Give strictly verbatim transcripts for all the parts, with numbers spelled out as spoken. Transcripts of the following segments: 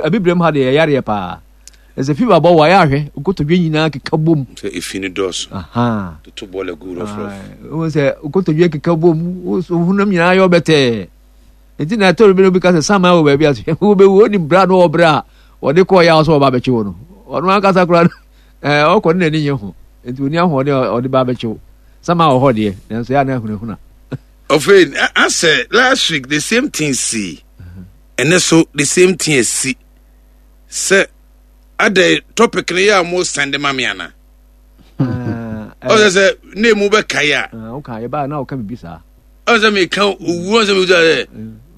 Abibirem ha deɛ, yɛyareɛ paa. Ɛsɛ fever bɔ wɔ ayɛ ahwɛ nkotodwe nyinaa keka bom. Sɛ efi no dɔɔso. Aha. Toto bɔɔla gu rɔfrɔf. Wohu sɛ nkotodwe keka bom, honam nyinaa yɛ ɔbɛtɛɛ. Nti na ɛtɔ bi no bi ka sɛ saman wɔ baabi ase, wobɛwu. Onim bra no, ɔbrɛ a wɔde kɔɔ yɛ a sɛ ɔba abɛkye wo no, ɔno ankasa koraa no ɛɛ ɔkɔ ne n'ani nye ho, nti oni ahoɔden a ɔde ba abɛkye wo. Saman wɔ hɔ deɛ, nanso yɛ a na ahunahuna. Ɔfei asɛ last week the same thing si, ɛnɛ so the same thing asi. Sɛ adɛ topic no yɛ a mo send ma me ana ɔsɛ sɛ ne mu bɛkae a. Woka yɛbaa na woka biribi saa. Ɔsɛ meka owuo, ɔsɛ meka sɛ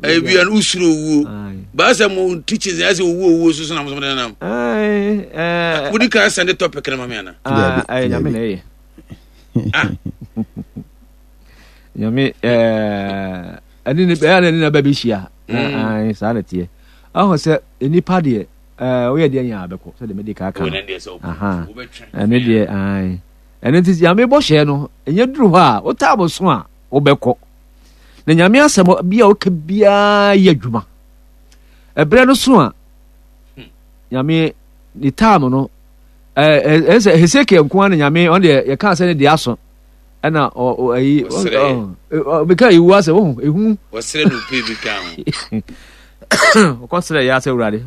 ɛyɛ bia no wosuro owuo baa sɛ mo teachings ɛsɛ owuo owuo so so na mo sɛ nam wodi kan send topic no ma me ana. Nyame na ɛyɛ Nyame ɛne ne ɛyɛ na ɛne na ba bɛhyia saa na teɛ. Ɔho sɛ nipa deɛ, woyɛ deɛ nyɛ abɛkɔ sɛ deɛ mede kaa ka no, ɛno deɛ ɛno nti Nyame bɔhyɛ no ɛnyɛ duru hɔ a wotaa mo so a wobɛkɔ. Na Nyame asɛm bi a woka biara yɛ adwuma ɛberɛ no so a Nyame ne taam no. Ɛɛ sɛ Hesekiel nko ara na Nyame ɔno deɛ yɛka sɛ ne deɛ aso ɛna ɔyi ɔbɛka ewu asɛ wohu ehu. Wɔsrɛ no pɛ bi ka ho. Ɔkɔsrɛ yɛ asɛ, Awurade,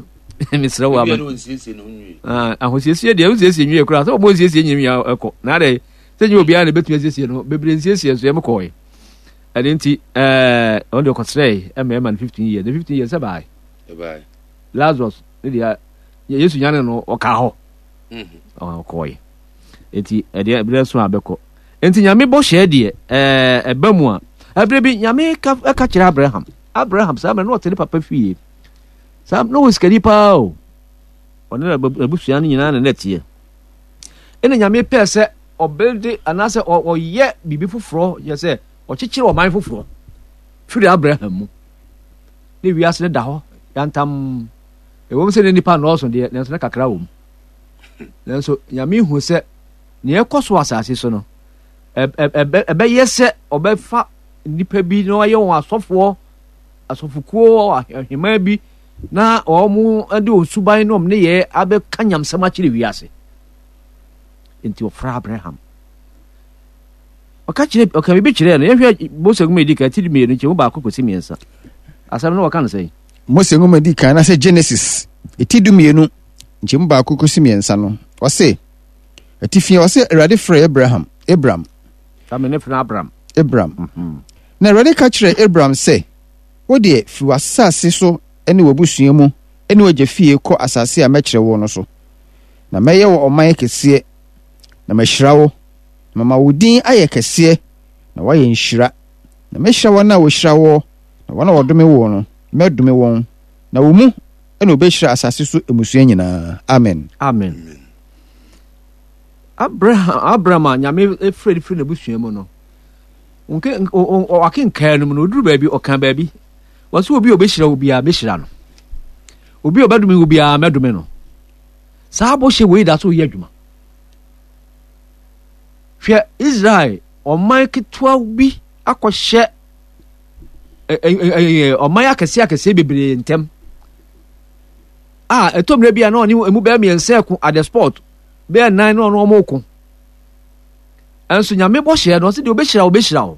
mesrɛ wo ama ahosiesie deɛ wosiesie nwie koraa sɛ wɔbɔ nsiesie nyɛ nwia ɛkɔ na adɛ sɛ nyɛ obiara na ɛbɛtumi asiesie no bebree nsiesie nso yɛm kɔɔe. Ɛno nti ɛɛ ɔno deɛ ɔkɔsrɛ ɛma ɛma no fifteen years, ne fifteen years sɛ bae Lazarus ne deɛ Yesu nyane no ɔka hɔ ɔkɔɔe. Nti ɛdeɛ ɛberɛ so a bɛkɔ. Nti Nyame bɔhyɛ deɛ ɛɛ ɛba mu a, ɛberɛ bi Nyame ka ɛka kyerɛ Abraham. Abraham saa mmerɛ na ɔte ne papa fie saa na ɔwɔ sikani paa o, ɔne n'abusua no nyinaa na na ɛteɛ. Ɛna Nyame pɛɛ sɛ ɔbɛde anaasɛ ɔyɛ biribi foforɔ, yɛ sɛ ɔkyekyere ɔman foforɔ firi Abraham mu ne wiase no da hɔ yantam. Ɛwom sɛ ne nipa nnɔɔso deɛ, nanso na kakra wɔ mu. Nanso Nyame hu sɛ nea ɛkɔ so asase so no, ɛbɛyɛ sɛ ɔbɛfa nnipa bi na ɔyɛ wɔn asɔfoɔ, asɔfokuo, ahemman bi, na wɔn de wɔn suban ne wɔn nneyɛɛ abɛka nyamsɛm akyerɛ wiase. Nti ɔfrɛ Abraham, ɔka kyerɛ, ɔka biribi kyerɛɛ no. Yɛhwɛ Mose nwoma edi kan ti mmienu nkyɛn mu baako kɔsi mmiɛnsa. Asɛm no wɔka no sɛn? Mose nwoma di kan anaasɛ Genesis eti du mmienu nkyɛn mu baako kɔsi mmiɛnsa no, ɔse atifi, ɔse Awurade frɛ Abraham, Abram. Sami ne frɛ Abram. Abram mm -hmm. Na Awurade ka kyerɛ Abram sɛ, wo deɛ, firi w'asase so ne w'abusua mu ne w'agya fie kɔ asase a mɛkyerɛ wo no so, na mɛyɛ wɔ ɔman kɛseɛ, na mahyira wo, na mama wo din ayɛ kɛseɛ, na woayɛ nhyira. Na mɛhyira wɔn a wɔhyira woɔ, na wɔn a wɔdome woɔ no, mɛdome wɔn, na wo mu na wɔbɛhyira asase so mmusua nyinaa. Amen. Amen. Abraham, Abraham a Nyame frɛ no firi n'abusua mu no, wakenkan no mu no, ɔduru baabi, ɔka baabi wɔsɛ obi a ɔbɛhyira wo biara mɛhyira no, obi a ɔbɛdome wo biara mɛdome no. Saa bɔhyɛ wei da so yɛ adwuma. Hwɛ, Israel ɔman ketewa bi akɔhyɛ ɔman akɛseɛ akɛseɛ bebree ntɛm a ɛtɔ mmerɛ bi a na ɔne emu bɛyɛ mmiɛnsa ɛko at the spot, bɛyɛ nnan na ɔno ɔmo ko. Ɛnso Nyame bɔhyɛ no, ɔsɛ deɛ ɔbɛhyira wo bɛhyira wo,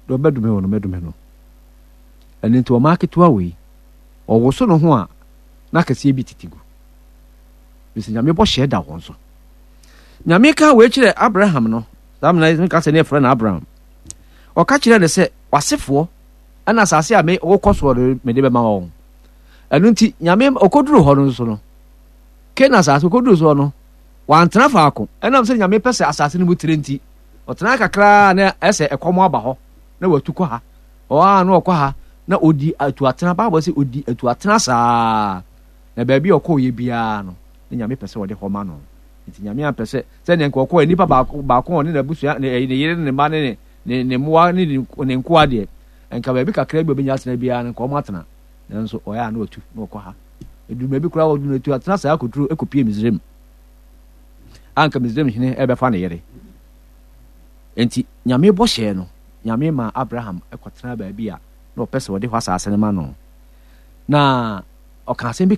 deɛ ɔbɛdome wo no mɛdome no. Ɛno nti ɔman ketewa wei ɔwoso no ho a na akɛseɛ bi tete gu bɛsɛ Nyame bɔhyɛ da wɔn so. Nyame ka wei kyerɛ Abraham no, saa mena nka sɛ ne yɛfrɛ no Abraham. Ɔka kyerɛ no sɛ wasefoɔ ɛna asase a me wokɔ soɔ no mede bɛma wɔn. Ɛno nti Nyame ɔkɔduru hɔ no nso no, Canaan asase ɔkɔduru soɔ no, wantena faako. Ɛnam sɛ Nyame pɛ sɛ asase no mu tire nti, ɔtena kakraa na ɛsɛ ɛkɔm aba hɔ na watu kɔ ha, ɔa na ɔkɔ ha na ɔdi atu atena. Bible sɛ ɔdi atu atena saa na baabi a ɔkɔɔyɛ biara no na Nyame pɛ sɛ ɔde hɔ ma no. Nti Nyame ampɛ sɛ sɛdeɛ nka ɔkɔɔ nipa baako baako ɔne n'abusua ne ne yere ne ne mma ne ne ne mmoa ne ne nkoa deɛ, nka baabi kakra bi a ɔbɛnya atena biara no nka ɔmo atena. Nanso ɔyɛ a na watu na ɔkɔ ha, ɛduru baabi koraa ɔduru no atu atena saa akɔduru ɛkɔpie Misraim a nka Misraim hene ɛbɛfa ne yere. Nti Nyame bɔhyɛɛ no, Nyame ma Abraham ɛkɔtena baabi a na ɔpɛ sɛ ɔde hɔ asase no ma no, na ɔka asɛm bi.